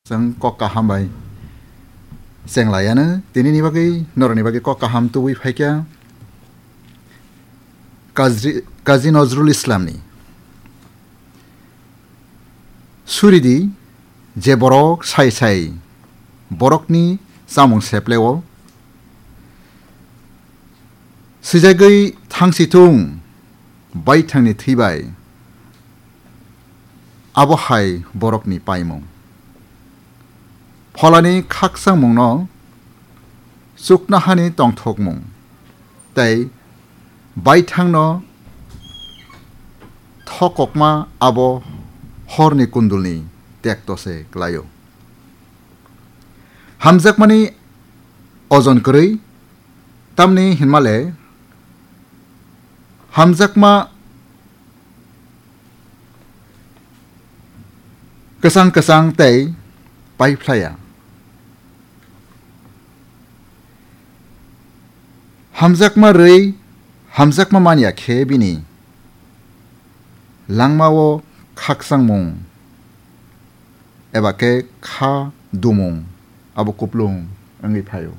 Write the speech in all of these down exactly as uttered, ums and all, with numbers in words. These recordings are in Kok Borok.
Chwng kok kaham bai cheng laiano, tinini bagwi, norokni bagwi kok kaham tubui phaikha Kazi, Kazi Nozrul Islamni. Suridi je borok sai sai borokni chamung sepleo swijagwi thangsi thung baithangni thwibai. Abo hai borokni paimung. Pholani khakchangmungno chuknohani tongthokmung tei baithangno thokokma abo horni kundulni tekto se klaio. Hamjakmani ojon kwrwi, tamni hinmale hamjakma kwchang kwchang tei paiphlaiya. Hamjakma rwi hamjakma manya khe bini langmao khakchangmung eba khe kha dumung abo kuplung wngwi phaio.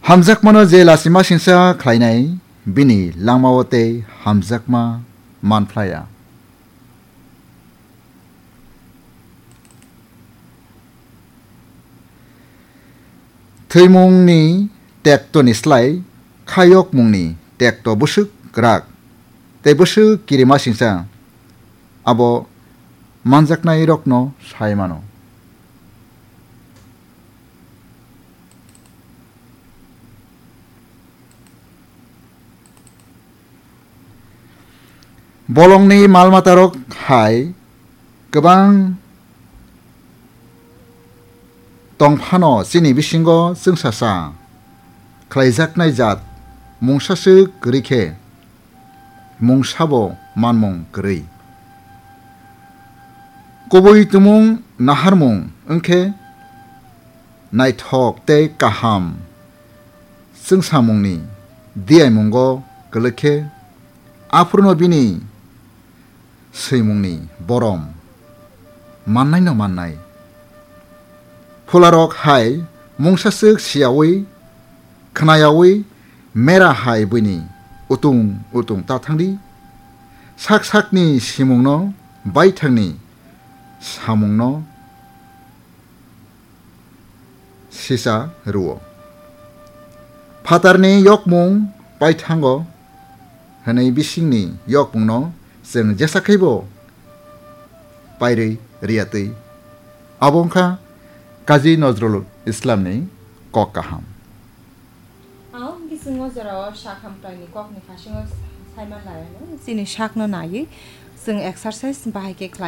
Hamjakmano je lachima singsa khlainai, bini langmao tei hamjakma manphlaiya. Thwimungni tektoni slai khayokmungni tekto bwswk kwrak tei bwswk kirima singsa abo manjaknairokno sai mano. Bolongni mal matarok hai kwbang tongphano chini bisingo chwngsasa khlaijaknai jat mungsaswk kwrwi khe mungsabo manmung kwrwi. Kubui tumung naharmung wngkhe naithok tei kaham chwngsamungni diyaimungo kwlwkhe, aphurno bini swimungni borom mannaino mannai. Phularok hai mungsaswk siyaui, khnayaui mera hai buini utung utung ta thangdi. Sak sakni simungno, baithangni samungno sisa rwo. Phatarni yokmung paithango hwnwi bisingni yokmungno chwng jesa khaibo pairwi riyatwi. Abo wngkha Kazi Nozrul Islamni kok kaham. Ang bising o jorao sak hamkraini kokni phasingo saiman laiano chini sakno naiwi chwng exercise bahai khe khlai.